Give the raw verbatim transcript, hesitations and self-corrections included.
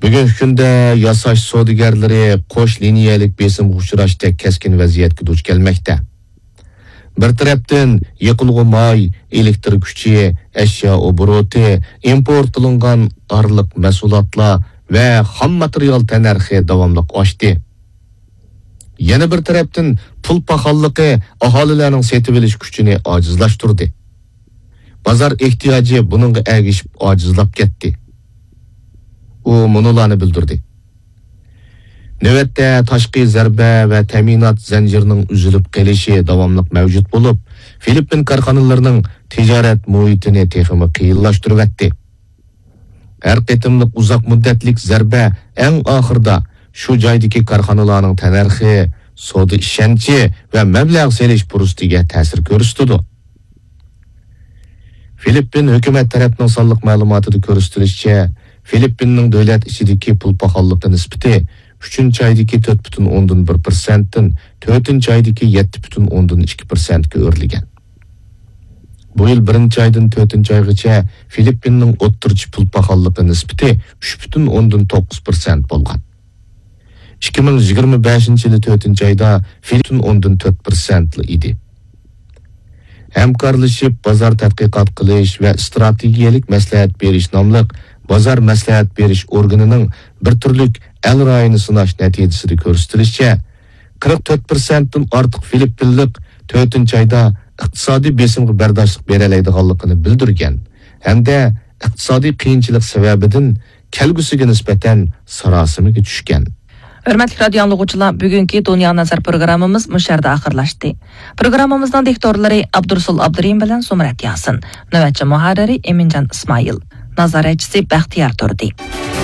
بۈگۈنكى كۈندە ياساش سودىگەرلىرى قوش لىنىيەلىك بېسىمغا ئۇچراشتەك كەسكىن ۋەزىيەتكە دۇچ كەلمەكتە. بىر تەرەپتىن، يېقىلغۇ ماي، ئېلېكتىر كۈچى، ئەشيا ئوبوروتى، ئىمپورت قىلىنغان ئارىلىق مەھسۇلاتلار ۋە خام ماتېرىيال تەننەرخى داۋاملىق ئاشتى. يەنە بىر تەرەپتىن، پۇل پاخاللىقى ئاھالىلەرنىڭ سېتىۋېلىش كۈچىنى ئاجىزلاشتۇردى. بازار ئېھتىياجى بۇنىڭغا ئەگىشىپ ئاجىزلاپ كەتتى. ئۇ مۇنۇلارنى بىلدۈردى. نۆۋەتتە تاشقى زەربە ۋە تەمىنات زەنجىرىنىڭ ئۈزۈلۈپ قېلىشى داۋاملىق مەۋجۇت بولۇپ، فىلىپپىن كارخانىلىرىنىڭ تىجارەت مۇھىتىنى تېخىمۇ قىيىنلاشتۇرۇۋەتتى. ھەر قېتىملىق ئۇزاق مۇددەتلىك زەربە ئەڭ ئاخىرىدا شۇ جايدىكى كارخانىلارنىڭ تەننەرخى، سودا ئىشەنچى ۋە مەبلەغ سېلىش پۇرسىتىگە تەسىر كۆرسىتىدۇ. فىلىپپىن ھۆكۈمەت تەرەپنىڭ سانلىق مەلۇماتىدا كۆرسىتىلىشىچە، فىلىپپىننىڭ دۆلەت ئىچىدىكى پۇل پاخاللىقى نىسبىتى ئۈچىنچى ئايدىكى تۆت پۈتۈن ئوندىن بىر پىرسەنتتىن تۆتىنچى ئايدىكى يەتتە پۈتۈن ئوندىن ئىككى پىرسەنتكە ئۆرلىگەن. بۇ يىل بىرىنچى ئايدىن تۆتىنچى ئايغىچە فىلىپپىننىڭ ئوتتۇرىچە پۇل پاخاللىقى نىسبىتى ئۈچ پۈتۈن ئوندىن توققۇز پىرسەنت بولغان. ئىككى مىڭ يىگىرمە بەشىنچى يىلى تۆتىنچى ئايدا فىلىپپىن ئوندىن تۆت پىرسەنتلا ئىدى. ھەمكارلىشىپ بازار تەتقىقات قىلىش ۋە ئىستراتېگىيەلىك مەسلىھەت بېرىش ناملىق بازار مەسلىھەت بېرىش ئورگىنىنىڭ بىر تۈرلۈك ئەل رايىنى سىناش نەتىجىسىدە كۆرسىتىلىشىچە، قىرىق تۆت پىرسەنتتىن ئارتۇق فىلىپپىنلىق تۆتىنچى ئايدا ئىقتىسادىي بېسىمغا بەرداشلىق بېرەلەيدىغانلىقىنى بىلدۈرگەن ھەمدە ئىقتىسادىي قىيىنچىلىق سەۋەبىدىن كەلگۈسىگە نىسبەتەن ساراسىمىگە چۈشكەن. ھۆرمەتلىك رادىئو ئاڭلىغۇچىلار، بۈگۈنكى دۇنيا نەزەر پروگراممىمىز مۇشۇ يەردە ئاخىرلاشتى. پروگراممىمىزنىڭ دىكتورلىرى ئابدۇرۇسۇل ئابدۇرېھىم بىلەن زۇمرەت ياسىن. نۆۋەتچى مۇھەررىرى ئېمىنجان ئىسمائىل. نازارەتچىسى بەختىيار تۇردى.